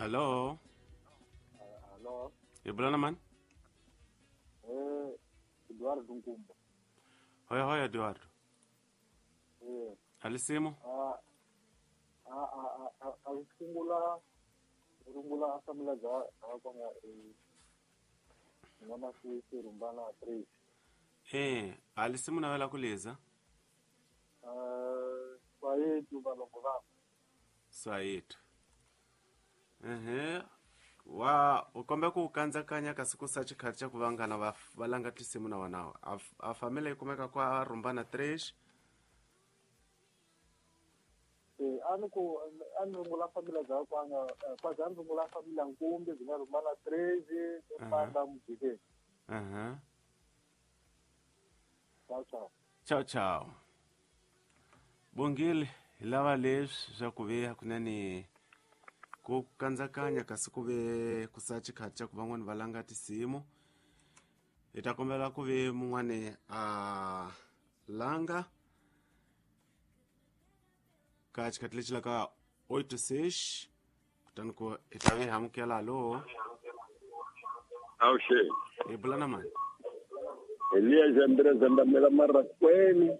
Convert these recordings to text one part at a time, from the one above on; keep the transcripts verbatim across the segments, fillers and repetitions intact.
Hello. Hello. Hi bula na mani? Eh, Eduardo Nkumba. Hoya hoya Eduardo. Eh, Alisimo? a a a a a sungula rungula asamula za kwanga eh ngama si rumbana three. Eh, alisimu nawela kuliza? Eh, swayetu valongo va. Swayetu. Ehe. Wa u kombe ku kandzakanya kasi ku sa xikhathi xa ku vangana va va langa tinsimu na wanawo. A a family yi kumeka kwa Rumbana three. Eh, a ni ku a ni rungula family za kwanga kwa za rungula family Nkumbi byi nga Rumbana three Rumbana Mujikeni. Aha. Ciao ciao. Ciao ciao. Bongile hi lava leswi swa ku ve hakunene ku kandzakanya kasi ku ve ku sa xikhathi xa ku van'wani va langa tinsimu. Hi ta kombela ku ve mun'wani a langa ka xikhathi lexi laka oito seis kutani ku hi ta ve hi amukela. Hallo. Awuxe. Hi bula na mani? Elias Andres Ndamela Marakweni.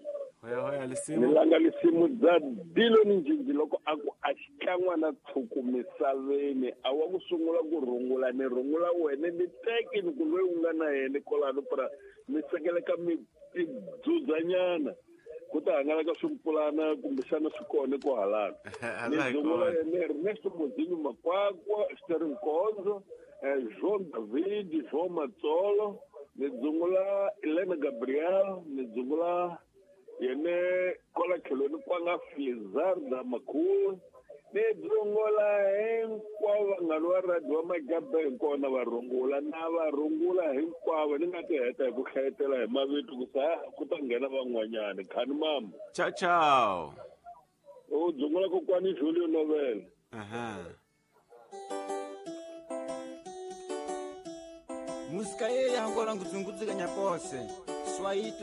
Hoya hoya lisimu. Ni langa lisimu dza Dilo ni Njinji loko a ku a xikan'wana tshuku misaveni a wa ku sungula ku rungula ni rungula wena ni teki ni ku loyi u nga na yena kwalano pra mi sekeleka mi tidzudzanyana ku ta hangalaka swimpulana kumbexana swi kona ko halana. Ni rungula yena Ernesto Mozinho Makwakwa, Sterling Nkonzo, João David, João Matsolo, ni dzungula Elena Gabriel, ni dzungula yene kola tlhelweni kwanga Flizarda Makhulu, ni dzungula hinkwavo vanghana va radio va Magabe hinkona va rungula na va rungula hinkwavo ni nga ti heta hi ku hlayetela hi mavito ku sa ku ta nghena van'wanyani. Khani mama. Ciao ciao. U dzungula kokwani Julio Novela. Aha. Musika ye yangola ngudzungudzika nyapose. Swahili.